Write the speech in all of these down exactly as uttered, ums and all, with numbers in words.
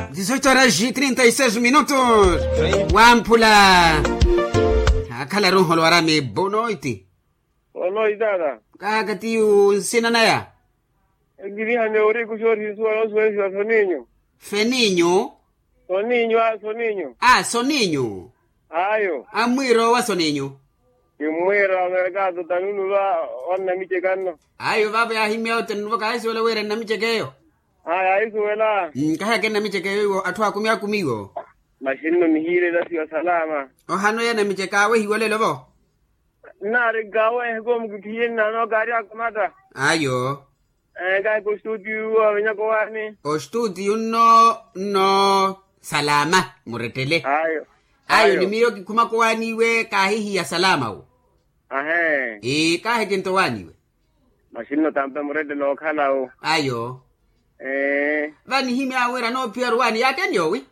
Dizoito horas e trinta e seis minutos. Wamphula. Akhala runholo warami bonoiti. Bonoiti tata. Kaka tiyu nsina naya. Ekirihane ori kuxorisiwa nosuwesiwa soninyu. Feninyu. Soninyu a soninyu. A soninyu. Ayo. Amwiro wa soninyu. Kimmwira merkado tanunu va. Onnamiceka nno. Ayo vavo yahimya otanunu va kahisuwela wira nnamiceka eyo. Aya ahisuwela. Nkahaka ennamiceka eyo iwo atthu akumi akumi iwo. Maxinno nihiirela siwa salama. Ohano ya namiceka awehiwa olelo vo. Nnaari nkaawehe koomukithiye nnano kaari akamata. Ayo. Kahi kostutiyu awenyaka owaani. Ostutiyu nno nno. Salama murettele. Ayo. Ayo ni miyo kikhumaka owaaniwe kaahihiya salama wo. Ahee. Kaahikenta owaaniwe. Maxinno tampe murettele okhalawo. Ayo. Ee. Vanihimya wira anoophiya oruwaani yaakeni yoowi.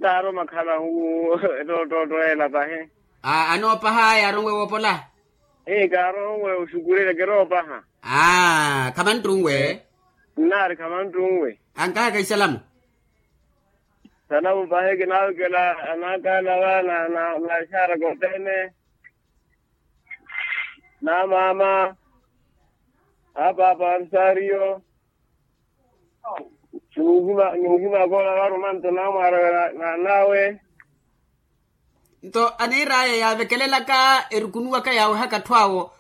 Kaaro makhala hu. Ettoottootto ela pahi. Anoopaha yaaronwe woopola. Ee kaaronwe oxukurerya keroopaha. Khamanttunwe. Nnaari khamanttunwe. Ankahaka isalamu. Salamu pahi kinaawikela anaakaana va na axaara kothene. Na maama. Apaapa arusario. Nimuhima akoola varumanto namwaarawe. Naanawe. Nto aniir'aya yaavekelelaka erukunuwaka yaawehaka atthu awo.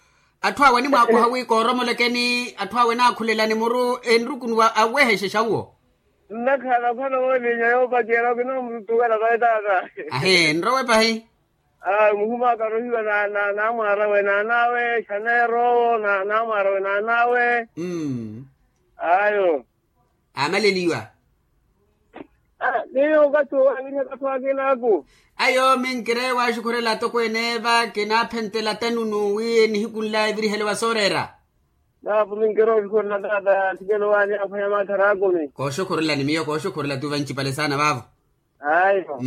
Atthu awo animwaakoha wi kooromolekeni atthu awo enaakhulelani muru enrukunuwa awehexexa uwo. Nnakhala ophano woolinya yoopacerya okina omututukela vayi taata. Ahe nrowe pahi. Muhuma akarohiwa na namwaarawe naanawe xaneer'owo. Namwaarawe naanawe. Ayo. Aamaleliwa. Miyo okathi owaaviriha kathi wakinaaku. Ayo minkire waaxukhurela atokweene va kinaaphentela tanunu wi nihiku nla eviriheliwa sooreera. Naapo minkire oxukhurela taata thikelo waani aphwanya maathara akumi. Kooxukhurela ni miyo kooxukhurela tuva ncipale saana vaavo. Ayo.